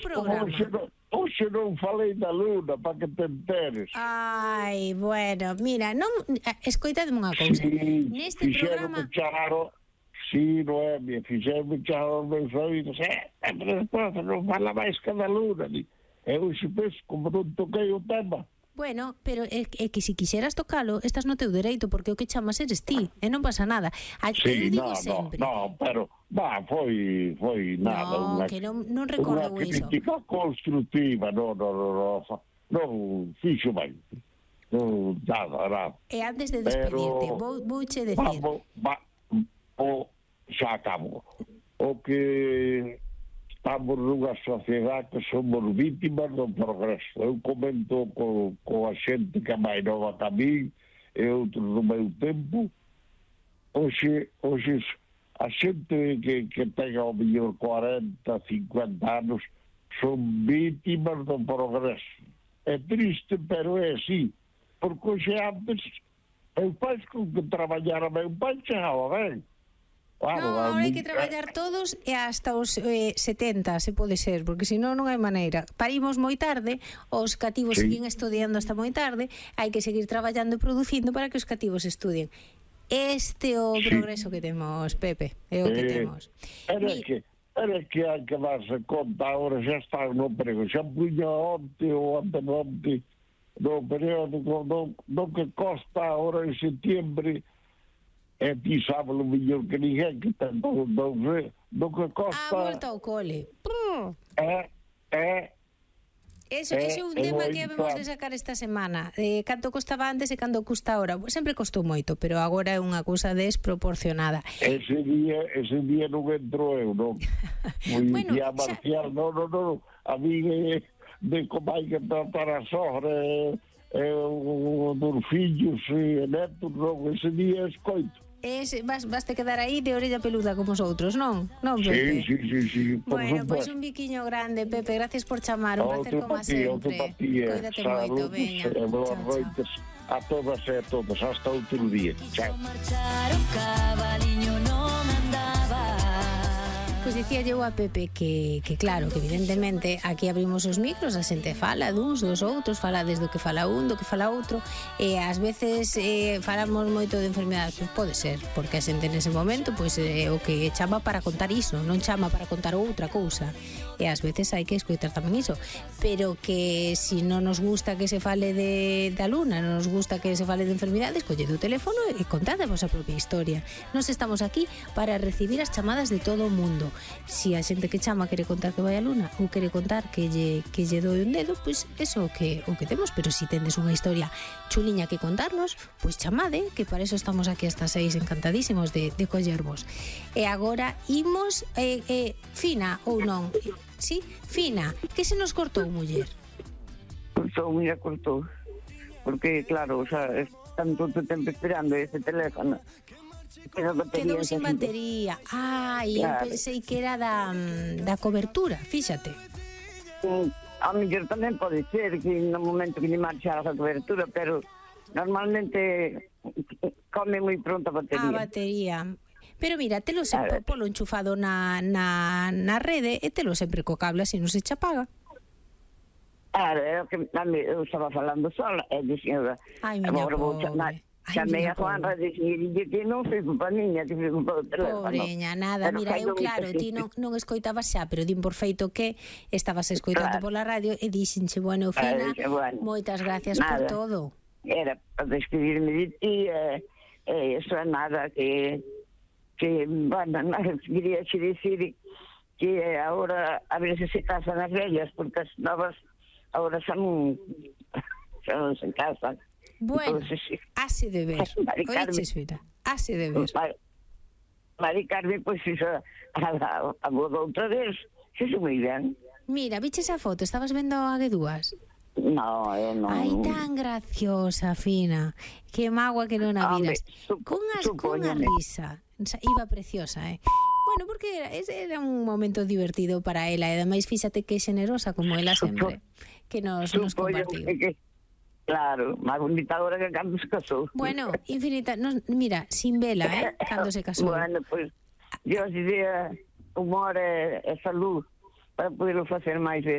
programa. Hoxe non falei da luna, para que te enteres. Ai, bueno, mira, non escoitadme unha cousa. Neste programa... Sí, Noemia, fixerme charo os meus oídos. Pero despois non fala máis que da luna. E hoxe, pois, como non toquei o tema. Bueno, pero é que se quixeras tocalo, estás no teu dereito, porque o que chamas eres ti, e non pasa nada. Sí, no, pero foi nada. No, que non recordo iso. Unha crítica constructiva, non fixo ben. Non, nada. E antes de despedirte, vouche decir... Xa acabo. O que estamos nunha sociedade que somos vítimas do progreso. Eu comento co a xente que é máis nova que a mí e outros do meu tempo. Hoxe a xente que ten ao mellor 40, 50 anos son vítimas do progreso. É triste, pero é así. Porque hoxe antes eu pais con que traballara meu pai chegaba ben. Claro, agora hai que traballar todos e hasta os 70, se pode ser, porque senón non hai maneira. Parimos moi tarde, os cativos siguen estudiando hasta moi tarde, hai que seguir traballando e producindo para que os cativos estudien. Este é o progreso que temos, Pepe, é o que temos. Era que hai que darse conta, agora xa está no prego, xa puña onte ou antemonte no periódico, do que costa agora en setembro. E ti sábalo mellor que ninguén que ten do que costa... volta ao cole. Ese é un tema que habemos de sacar esta semana. Canto costaba antes e canto custa ahora. Sempre costou moito, pero agora é unha cousa desproporcionada. Ese día non entro eu, non? Bueno, día marcial, non. A mí de como hai que tratar a sogra dos fillos e netos, non? Ese día escoito. Vas te quedar aí de orella peluda como os outros, non? Non, Pepe? Sí. Bueno, pois un biquiño grande, Pepe. Gracias por chamar, un placer como sempre. Coídate moito, veña. Boas noites a todas e a todos. Hasta outro día. Chao. Pois dicía eu a Pepe que claro, que evidentemente aquí abrimos os micros, a xente fala duns, dos outros, fala desde o que fala un, do que fala outro, e ás veces falamos moito de enfermedades, pois pode ser, porque a xente nese momento pois o que chama para contar iso, non chama para contar outra cousa, e ás veces hai que escoitar tamén iso, pero que si non nos gusta que se fale da luna, non nos gusta que se fale de enfermedades, collede o teléfono e contade a vosa propia historia. Nos estamos aquí para recibir as chamadas de todo o mundo. Si a xente que chama quere contar que vai a luna ou quere contar que lle doe un dedo, pois eso o que temos. Pero si tendes unha historia chuliña que contarnos, pois chamade, que para eso estamos aquí hasta 6, encantadísimos de collervos. E agora imos Fina ou non? Sí, Fina, que se nos cortou, muller? Cortou, porque claro, xa están todo o tempo esperando ese teléfono. Quedou sin batería. Eu pensei que era da cobertura, fíxate. A mellor tamén pode ser que no momento que lle marchara a cobertura, pero normalmente come moi pronto a batería. A batería. Pero mira, telo sempre polo enchufado na rede e telo sempre co cable, así non se che apaga. É o que eu estaba falando sola, e dixen, agora vou chamar. Chamei a Juanra e dixen que non foi culpa miña, que foi culpa do teléfono. Pobreña, nada, mira, eu claro, ti non escoitabas xa, pero din por feito que estabas escoitando pola radio e dixenche, bueno, Fina, moitas gracias por todo. Era para despedirme de ti, eso é nada, que bueno, queria xe dicir que agora a ver se casan as vellas, porque as novas agora xa non se casan. Bueno, así de ver. Oiches, Fina, así de ver. Mari Carmen, pois iso a boda outra vez, iso moi ben. Mira, viches a foto, estabas vendo a Guedúas? No, eu non. Ai, tan graciosa, Fina. Que magua que non a viras. Cunha risa. Iba preciosa, Bueno, porque era un momento divertido para ela, e ademais fíxate que xenerosa como ela sempre, que nos compartiu. Claro, máis bonita agora que cando se casou. Bueno, infinita, mira, sin vela, cando se casou. Bueno, pois, Dios diría humor e salud para poderlo facer máis veces.